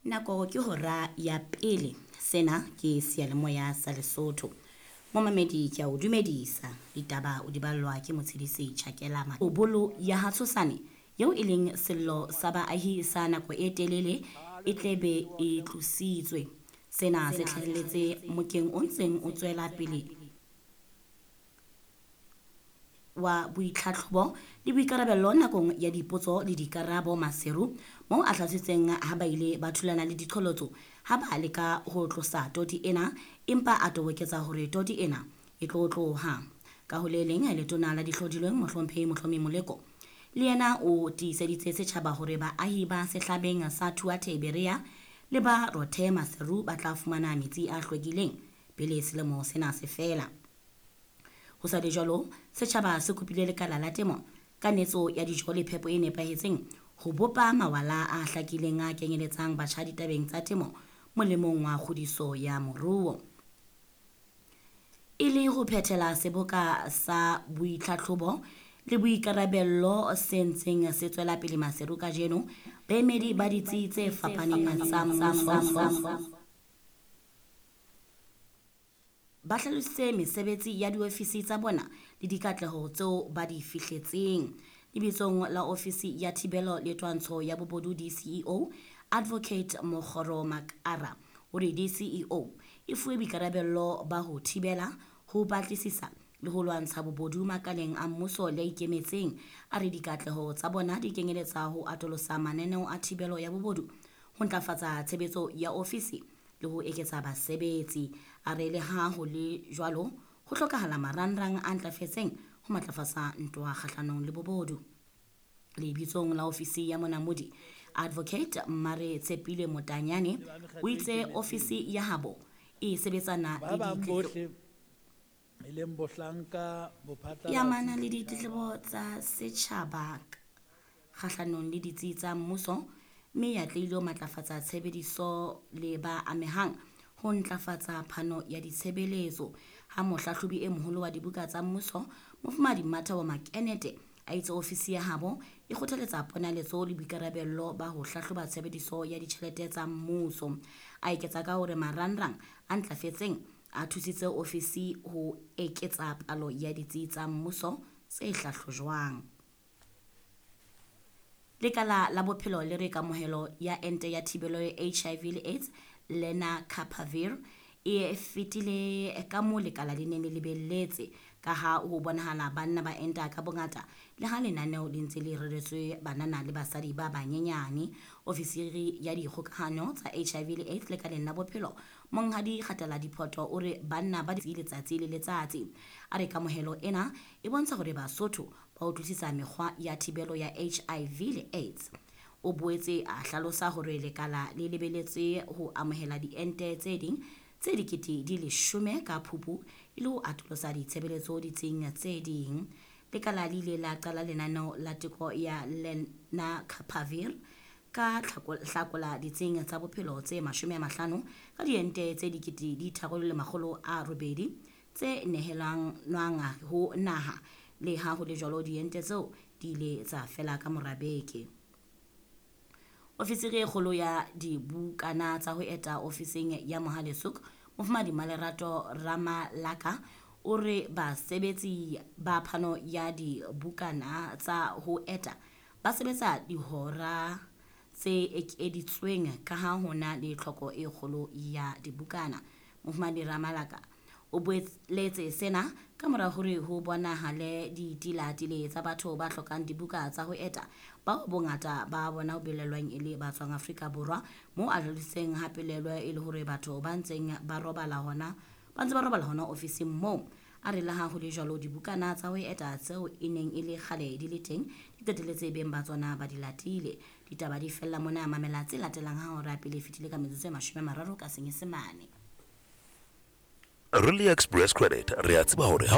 Nako ke hora ya pele. Sena ke seyalemoya sa Lesotho. Momamedi ke a o dumedisa. Ditaba o di ballwa ke Motshedisi Chakela. Bolo ya ha Tshosane eo e leng sello sa baahi sa nako e telele e tle be e tlositswe. Sena se hlahelletse mokeng o ntseng o tswela pele wa boitlhatlhobo le boikarabello nakong ya dipotso le dikarabo Maseru moo a hlalositseng ha ba ile ba thulana le diqholotso ha ba leka ho tlosa toti ena empa a toboketsa hore toti ena e tlo tloha. Ka ho le leng letona la dihlodilweng mohlomphehi Mohlomi Moleko le yena o tiiseditse setjhaba hore baahi ba sehlabeng sa Thuathe Berea le ba Rothe Maseru ba tla fumana metsi a hlwekileng pele selemo sena se fela. Ho sa le jwalo, setjhaba se kopile lekala la temo ka netso ya dijo le phepo e nepahetseng ho bopa mawala a hlakileng a kenyeletsang batjha ditabeng tsa temo molemong wa kgodiso ya moruo. E le ho phethela seboka sa boitlhatlhobo le boikarabello se ntseng se tswela pele Maseru kajeno, baemedi ba ditsi tse fapaneng tsa mmuso ba hlalositse mesebetsi ya diofisi tsa bona le dikatleho tseo ba di fihletseng. Lebitsong la ofisi ya thibelo le twantsho ya bobodu DCEO, Advocate Mokgoro Makara o re DCEO e fuwe boikarabello ba ho thibela, ho batlisisa le ho lwantsha bobodu makaleng a mmuso le a ikemetseng. A re dikatleho tsa bona di kenyeletsa ho atolosa mananeo a thibelo ya bobodu, ho ntlafatsa tshebetso ya ofisi le ho eketsa basebetsi. A re le ha ho le jwalo, ho hlokahala marangrang a ntlafetseng ho matlafatsa ntwa kgahlanong le bobodu. Lebitsong la ofisi ya monamodi, Advocate Mare Tshepile Motanyane o itse ofisi ya habo e sebetsana Ba le bang ditletlebo bohle e leng bohlanka e amana bophatlalatsi le ditletlebo tsa setjhaba kgahlanong le ditsi tsa mmuso mme e atlehile ho matlafatsa tshebediso le ba amehang ho ntlafatsa phano ya ditshebeletso. Ha mohlahlobi e moholo wa dibuka tsa mmuso, Mofumahadi Mmathabo Makenete, a itse ofisi ya habo e kgothaletsa ponaletso le boikarabello ba ho hlahloba tshebediso ya ditjhelete tsa mmuso. A eketsa ka hore marangrang a ntlafetseng a thusitse ofisi ho eketsa palo ya ditsi tsa mmuso tse hlahlojwang. Lekala la bophelo le re kamohelo ya ente ya thibelo ya HIV le AIDS Lenacapavir e fetile ka moo lekala le neng le lebelletse ka ha ho bonahala banna ba enta ka bongata le ha lenaneo le ntse le reretswe banana le basadi ba banyenyane. Ofisiri ya dikgokahano tsa HIV le AIDS lekaleng la bophelo Monghadi Kgatala Diphoto o re banna ba letsatsi le letsatsi. A re kamohelo ena e bontsha hore Basotho ba utlwisisa mekgwa ya thibelo ya HIV le AIDS. O boetse a hlalosa hore lekala le lebeletse ho amohela diente tse ding tse 10,000 ka Phupu e le ho atolosa ditshebeletso ditsing tse ding. Lekala le ile la qala lenaneo la teko ya Lenacapavir ka hlakola ditsing tsa bophelo tse 50 ka diente tse 3,800 tse nehelanwang ho naha. Le ha ho le jwalo, diente tseo di ile tsa fela ka mora beke. Ofisiri e kgolo ya dibukana tsa ho eta ofising ya Mohale's Hoek, Mofumahadi Malerato Ramalaka, o re basebetsi ba phano ya dibukana tsa ho eta ba sebetsa dihora tse ekeditsweng ka ha ho na le tlhoko e kgolo ya dibukana. Mofumahadi Ramalaka o boletse sena ka mora hore ho bonahale ditilatile tsa batho ba hlokang dibuka tsa ho eta bao bongata ba bona ho belelwang e le ba tswang Afrika Borwa, moo a hlalositseng ha pelaelo e le hore batho ba ntseng ba robala hona ba ntse ba robala hona ofising moo. A re le ha ho le jwalo, dibukana tsa ho eta tseo e neng e le kgale di le teng di qetelletse beng ba tsona ba di latile. Ditaba di fella mona, mamela tse latelang ha hora pele e fetile ka metsotso e 30 ka Senyesemane. Really Express Credit re a tseba hore ha o